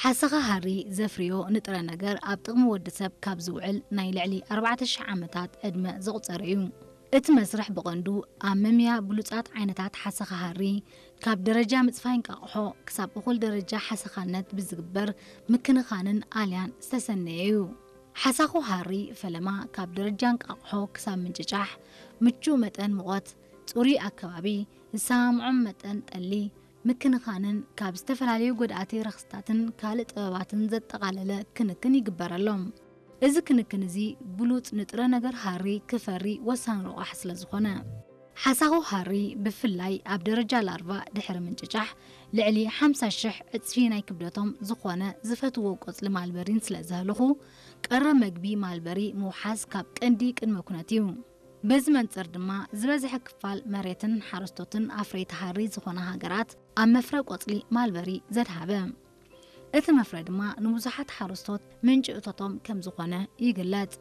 ሓሰኻ ሃሪ ዘፍርዮ ንጥረ ነገር ኣብ ጥቕሚ ወዲ ሰብ ካብ ዝውዕል ናይ ልዕሊ ኣርባዕተ ሽሕ ዓመታት ዕድመ ዘቑጸረ እዩ። እቲ መስርሕ ብቐንዱ ኣብ ምምያ ብሉጻት ዓይነታት ሓሰኻ ሃሪ፣ ካብ ደረጃ ምጽፋይ እንቃቕሖ ክሳብ እኹል ደረጃ ሓሰኻነት ብዝግበር ምክንኻንን ኣልያን ዝተሰነየ እዩ። ሓሳኹ ሃሪ ፈለማ ካብ ደረጃ እንቃቕሖ ክሳብ ምንጭጫሕ፣ ምቹእ መጠን ሙቐት፣ ጽሩይ ኣከባቢ፣ ዝሰማምዖም መጠን ጠሊ፣ ምክንኻንን ካብ ዝተፈላለዩ ጎዳእቲ ረኽስታትን ካልእ ጥበባትን ዘጠቓለለ ክንክን ይግበረሎም። እዚ ክንክን እዚ ብሉጽ ንጥረ ነገር ሃሪ ክፈሪ ወሳኒ ረቋሕ ስለ ዝኾነ። ሓሳኹ ሃሪ ብፍላይ ኣብ ደረጃ ላርቫ ድሕሪ ምንጭጫሕ ልዕሊ ሓምሳ ሽሕ ዕጽፊ ናይ ክብደቶም ዝኾነ ዝፈትዎ ቆጽሊ ማልበሪን ስለ ዘህልኹ፣ ቀረብ መግቢ ማልበሪ ምውሓዝ ካብ ቀንዲ ቅድመ ኩነት እዩ። በዚ መንጽር ድማ ዝበዝሐ ክፋል መሬትን ሓረስቶትን ኣፍረይቲ ሃሪ ዝኾና ሃገራት ኣብ መፍረ ቆጽሊ ማልበሪ ዘድሃበ። እቲ መፍረ ድማ ንብዙሓት ሓረስቶት ምንጪ እቶቶም ከም ዝኾነ ይግለጽ።